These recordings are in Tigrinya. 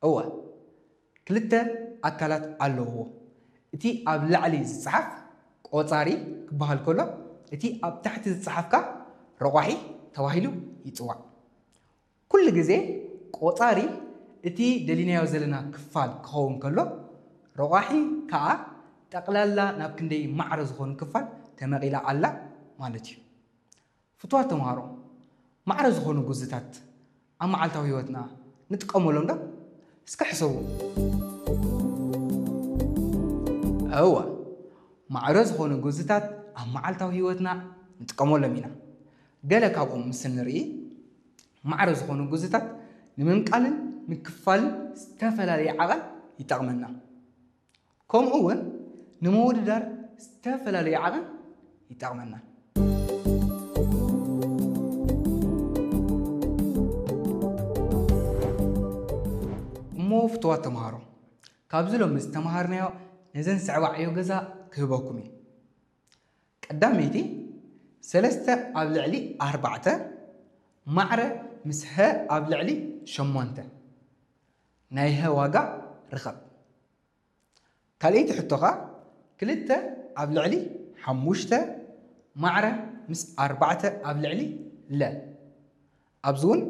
እወ፣ ክልተ ኣካላት ኣለውዎ። እቲ ኣብ ላዕሊ ዝጸሓፍ ቆጻሪ ክበሃል ከሎ፣ እቲ ኣብ ታሕቲ ዝጸሓፍ ከኣ ረቋሒ ተባሂሉ ይጽዋዕ። ኩሉ ግዜ ቆጻሪ እቲ ደሊናዮ ዘለና ክፋል ክኸውን ከሎ፣ ረቋሒ ከኣ ጠቕላላ ናብ ክንደይ ማዕረ ዝኾኑ ክፋል ተመቒላ ኣላ ማለት እዩ። ፍቱዋት ተምሃሮ፣ ማዕረ ዝኾኑ ግዝታት ኣብ መዓልታዊ ህይወትና ንጥቀመሎም ዶ? እስከ ሕሰቡ። እወ፣ ማዕረ ዝኾኑ ግዝታት ኣብ መዓልታዊ ህይወትና ንጥቀመሎም ኢና። ገለ ካብኦም ምስ ንርኢ፣ ማዕረ ዝኾኑ ግዝታት ንምምቃልን ምክፋልን ዝተፈላለየ ዓቐን ይጠቕመና። ከምኡ እውን ንምውድዳር ዝተፈላለየ ዓቐን ይጠቕመና። እሞ ፍቱዋት ተምሃሮ፣ ካብዚ ሎሚ ዝተምሃርናዮ ነዘን ዝስዕባ ዕዮ ገዛ ክህበኩም እየ። ቀዳመይቲ፣ ሰለስተ ኣብ ልዕሊ ኣርባዕተ ማዕረ ምስ ሀ ኣብ ልዕሊ ሸሞንተ ናይ ሀ ዋጋ ርኸብ። ካልኣይቲ ሕቶ ከኣ፣ ክልተ ኣብ ልዕሊ ሓሙሽተ ማዕረ ምስ ኣርባዕተ ኣብ ልዕሊ ለ። ኣብዚ እውን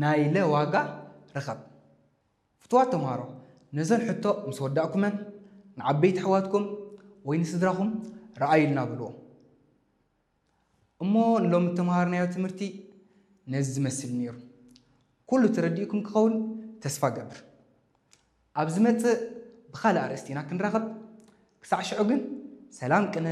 ናይ ለ ዋጋ ርኸብ። ፍቱዋት ተምሃሮ፣ ነዘን ሕቶ ምስ ወዳእኩመን ንዓበይቲ ኣሕዋትኩም ወይ ንስድራኹም ረኣዩልና በልዎም። እሞ ንሎሚ እተምሃርናዮ ትምህርቲ ነዚ ዝመስል ነይሩ። ኩሉ ተረዲእኩም ክኸውን ተስፋ እገብር። ኣብ ዝመጽእ ብኻልእ ኣርእስቲ ኢና ክንራኸብ። ክሳዕ ሽዑ ግን ሰላም ቅነ።